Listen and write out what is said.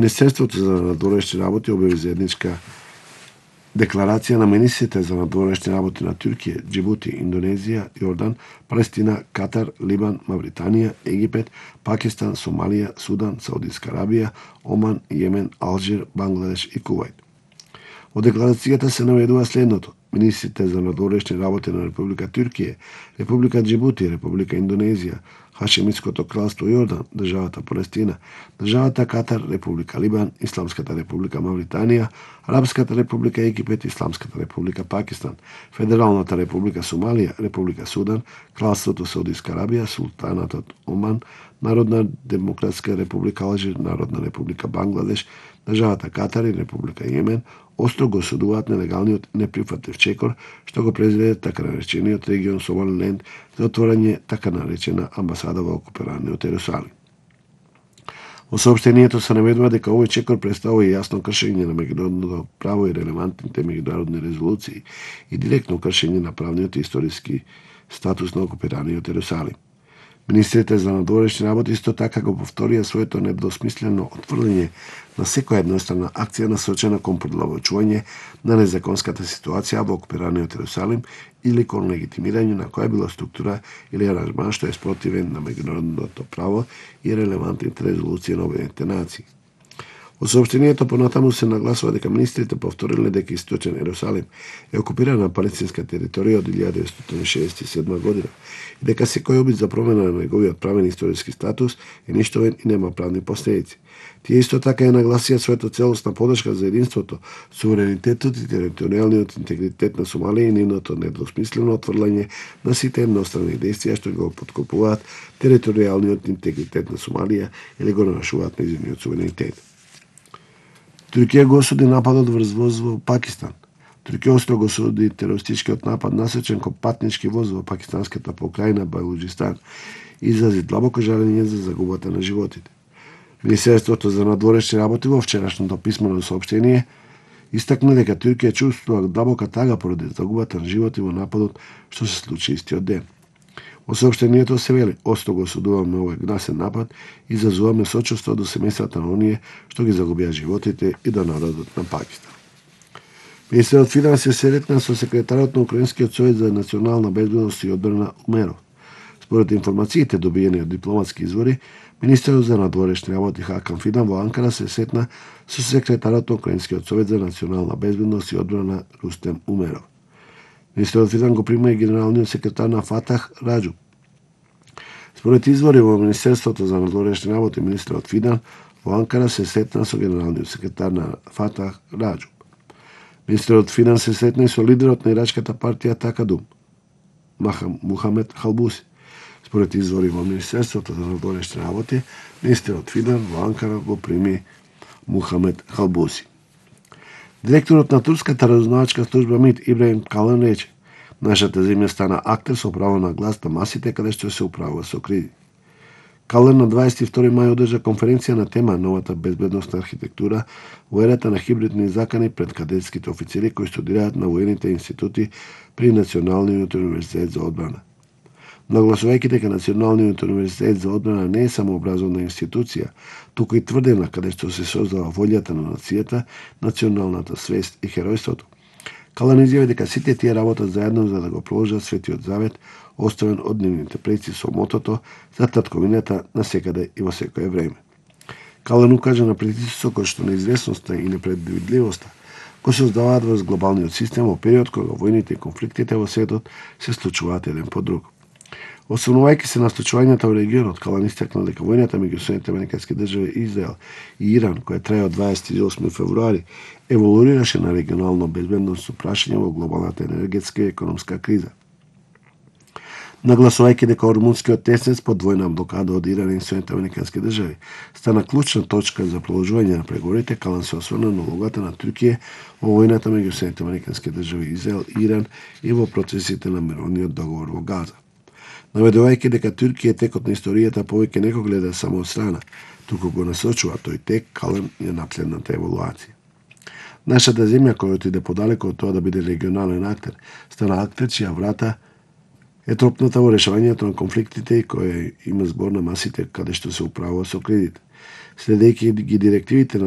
Министерството за надворешни работи објави заедничка декларација на министрите за надворешни работи на Туркија, Џибути, Индонезија, Јордан, Палестина, Катар, Либан, Мавританија, Египет, Пакистан, Сомалија, Судан, Саудиска Арабија, Оман, Јемен, Алжир, Бангладеш и Кувајт. Во декларацијата се наведува следното: министрите за надворешни работи на Република Туркија, Република Џибути, Република Индонезија, Хашемитското кралство Јордан, државата Палестина, државата Катар, Република Либан, Исламската република Мавританија, Арапската република Египет, Исламската република Пакистан, Федералната република Сомалија, Република Судан, Кралството Саудиска Арабија, Султанатот Оман, Народна демократска република Алжир, Народна република Бангладеш, државата Катар и Република Јемен острого осудуваат нелегалниот неприфатлив чекор што го произведе така наречениот регион Сомалиленд за отворање така наречена амбасада во окупираниот Ерусалим. Во соопштението се наведува дека овој чекор представува јасно кршење на меѓународното право и релевантните меѓународни резолуции и директно кршење на правниот и историски статус на окупираниот Ерусалим. Министрите за надворешни работи исто така го повторија своето недвосмислено отврлење на секоја еднострана акција насочена кон продолжување на незаконската ситуација во окупираниот Ерусалим или кон легитимирање на која била структура или аранжман што е спротивен на меѓународното право и релевантните резолуции на Обединетите нации. Во соопштението понатаму се нагласува дека министрите повториле дека Источен Ерусалим е окупирана палестинска територија од 1967 година и дека секој обид за промена на неговиот правен историски статус е ништовен и нема правни последици. Тие исто така ја нагласија својата целосна подршка за единството, суверенитетот и територијалниот интегритет на Сомалија и нивното недвосмислено отврлање на сите едностранни действија што го поткопуваат територијалниот интегритет на Сомалија или го нарушуваат нејзиниот суверенитет. Туркија го осуди нападот врз воз во Пакистан. Туркија острого осуди терористичкиот напад насочен кон патнички воз во пакистанската покрајна Балуџистан и изрази длабоко жалење за загубата на животите. Министерството за надворешни работи во вчерашното писмено соопштение истакна дека Туркија чувствува длабока тага поради загубата на животи во нападот што се случи истиот ден. Во соопштението се вели: острого осудуваме овој гнасен напад и изразуваме сочувство до семејствата на оние што ги загубија животите и до народот на Пакистан. Министерот финанси се сретна со секретарот на Украинскиот совет за национална безбедност и одбрана Умеров. Според информациите добиени од дипломатски извори, министерот за надворешни работи Хакан Фидан во Анкара се сретна со секретарот на Украинскиот совет за национална безбедност и одбрана Рустем Умеров. Министерот Фидан го прима и генералниот секретар на Фатах Раџу. Според извори во Министерството за надворешни работи, министерот Фидан во Анкара се сретна со генералниот секретар на Фатах Раџу. Министерот Фидан се сретна и со лидерот на ирачката партија Такадум, Мухамед Халбуси. Според извори во Министерството за надворешни работи, министерот Фидан во Анкара го прими Мухамед Халбуси. Директорот на турската разузнавачка служба МИД Ибраһим Калан рече: нашата земја стана актер со право на глас на масите каде што се управува со кризи. Калан на 22 мај одржа конференција на тема новата безбедносна архитектура во ерата на хибридни закани пред кадетските офицери кои студираат на воените институти при Националниот универзитет за одбрана. Нагласувајќи дека Националниот универзитет за одбрана не е само образовна институција, туку и тврдена каде што се создава волјата на нацијата, националната свест и херојството. Калан изјави дека сите тие работат заедно за да го проложат Светиот Завет, оставен од нивните предци со мотото за татковината на секаде и во секое време. Калан укажа на притисокот што неизвестноста и непредвидливоста го создаваат врз глобалниот систем во период кога војните и конфликтите во светот се случуваат еден по друг. Освнувајќи се на случувањата во регионот, Калан истакна дека војната меѓу Соединетите американски држави, Израел и Иран, која трае од 28 февруари, еволуираше на регионално безбедносно прашање во глобалната енергетска и економска криза. Нагласувајќи дека Ормунскиот теснец под војна блокада од Иран и Соединетите американски држави стана клучна точка за продолжување на преговорите, Калан се осврна на улогата на Туркија во војната меѓу Соединетите американски држави, Израел и Иран и во процесите на мировниот договор во Газа. Наведувајќи дека Туркија текот на историјата повеќе не го гледа само од страна, туку го насочува тој тек, Калан е на следната еволуација. Нашата земја, која отиде подалеку од тоа да биде регионален актер, стана актер чија врата е тропната во решавањето на конфликтите и која има збор на масите каде што се управува со кризите. Следејќи ги директивите на